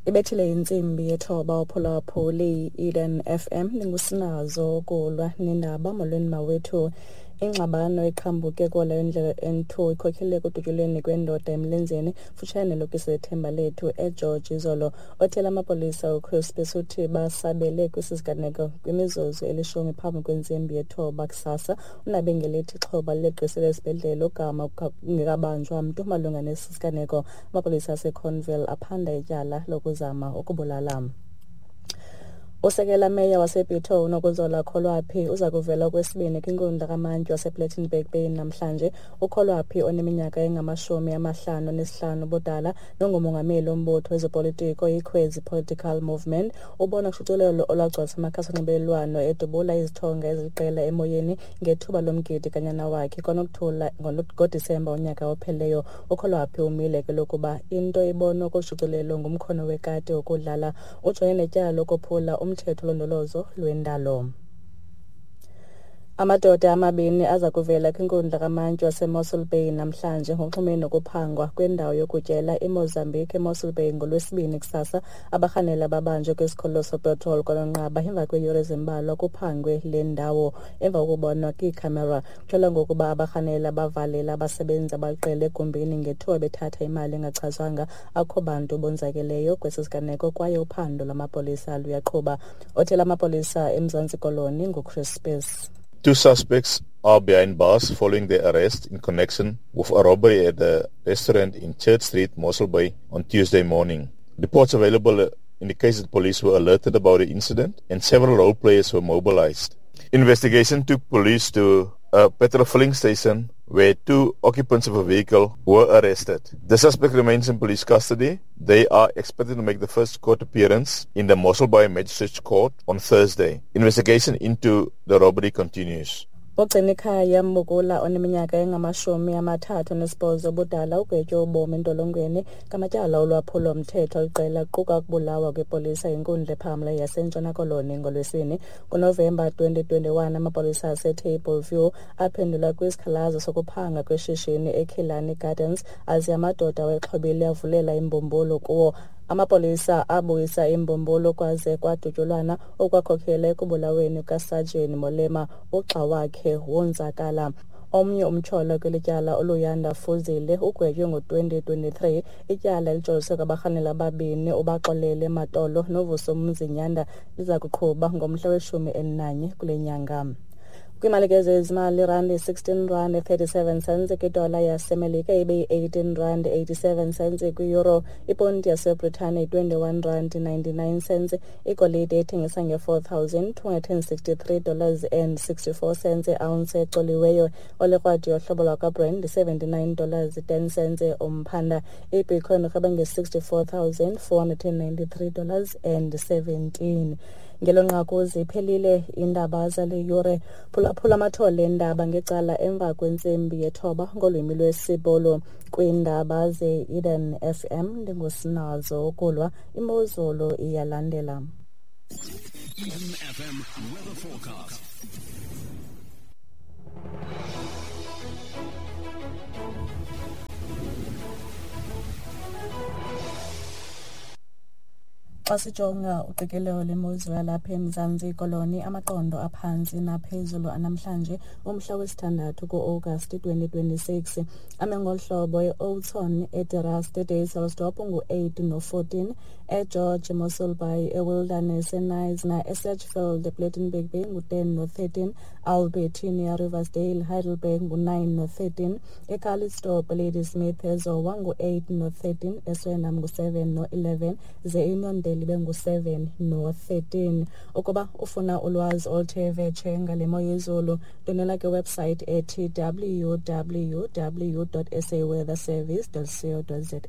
Ibethile intsimbi yethoba uphulaphuli Eden FM, ndingusinazo kulwa nendaba. Molweni mawethu. Ingxabano eqhambuke kola indlela N2 ikhokelele ekudutyulweni kwendoda emlenzeni futshane nelokisi lethemba lethu eGeorge izolo. Othela amapolisa uChris Besuthi basabele kwesi siganeko kwimizuzu elishumi phambi kwentsimbi yethoba kusasa. Unabe ngelithi ixhoba lileqisele esibhedlele ogama kungekabanjwa mntu malunga nesi siganeko. Amapolisa aseConville aphanda ityala lokuzama ukubulala. Usekela meya waseBito uNokuzola Kholwaphi uza kuvela okwesibini kwinkundla kamantyi wasePlettenberg Bay namhlanje. UKholwaphi oneminyaka engama-55 ubudala nongumongameli wombutho wezopolitiko iKhwezi Political Movement ubona kushicilelo olwagcwalisa amakhasi onxibelelwano edubula izithonga eziliqela emoyeni ngethuba lomgidi kanyana wakhe kwanokuthula ngoDisemba unyaka ophelileyo. UKholwaphi umile kwelokuba into ebonwa kushicilelo ngumkhono wekati wokudlala. Ujongene netyala lokophula umthetho wolondolozo lwendalo. Amadoda amabini aza kuvela kwinkundla kamantyi waseMossel Bay namhlanje ngoxhumene nokuphangwa kwendawo yokutyela iMozambique eMossel Bay ngoLwesibini kusasa. Abarhanela babanjwe kwisikhululo sepetroli kwaNonqaba emva kweeyure ezimbalwa kuphangwe le ndawo emva kokubonwa kwiikhamera. Kutyholwa ngokuba abarhanela bavalela abasebenzi abaliqela egumbini ngethuba bethatha imali engachazwanga. Akukho bantu bonzakeleyo kwesi siganeko kwaye uphando lwamapolisa luyaqhuba. Othela amapolisa eMzantsi Koloni nguChris Spies. Two suspects are behind bars following their arrest in connection with a robbery at a restaurant in Church Street, Mossel Bay, on Tuesday morning. Reports available indicate that police were alerted about the incident and several role players were mobilized. Investigation took police to a petrol filling station where two occupants of a vehicle were arrested. The suspect remains in police custody. They are expected to make the first court appearance in the Mossel Bay Magistrates Court on Thursday. Investigation into the robbery continues. Ugcinikhaya Mbukula oneminyaka engama-38 ubudala ugwetywe ubomi entolongweni ngamatyala olwaphulo-mthetho aliqela kuquka ukubulawa kwepolisa yinkundla ephakamileyo yaseNtshona Koloni ngoLwesine. NgoNovemba 2021 amapolisa aseTable View aphendula kwisikhalazo sokuphanga kweshishini eKillarney Gardens aze amadoda awexhobile avulela imbumbulu kuwo. Amapolisa abuyisa imbumbulu kwaze kwadutyulwana okwakhokelela ekubulaweni kukaSajini Molema, ugxa wakhe wonzakala. Omnye umtyholwa kweli tyala uLuyanda Fuzile ugwetywe ngo-2023. Ityala elijoliswe kwabarhanela ababini uBaxolele Matolo noVusumuzi Nyanda liza kuqhuba ngomhla we-11 kule nyanga. Kwimali ke zezimali, irandi 16 rand 37 cents kwidola yaseMelika, ibe yi-18 rand 87 cents kwi-euro. Iponti yaseBritane 21 rand 99 cents. Igolide ethengisa nge-$4,263 dollars and 64 cents ounce ecoliweyo. Olekrwadi yohlobo lwakwaBrand 79 dollars 10 cents umphanda. Ibitcoin irhweba nge-$64,493 dollars and 17. Ngelo nqaku ziphelile iindaba zale yure. Phulaphula amathole eendaba ngecala emva kwentsimbi yethoba ngolwimi lwesiBhulu. Kwiindaba ze-Eden FM ndingusinazo ukulwa. Imozulu iyalandela. Eden FM weather forecast. Xa sijonga uqikelelo lwemozulu yalapha eMzantsi Koloni, amaqondo aphantsi naphezulu anamhlanje umhla wesithandathu ku-Agasti 2026 ame ngolu hlobo: eOudtshoorn, eDe eDysselsdorp ngu-8 no-14, eGeorge, eMossel Bay, eWilderness, eKnysna, eSedgefield, ePlettenberg Bay ngu-10 no-13, Albertinia, Riversdale, Heidelberg ngu-9 no-13, eCalitzdorp, Ladysmith, eZowa ngu-8 no-13, eSwellnum ngu-7 no-11, ze iUniondale ibe ngu-7 no-13. Ukuba ufuna ulwazi oluthe vetshe ngale mo yezulu, ndwendwela kwiwebsite ethi www.saweatherservice.co.za.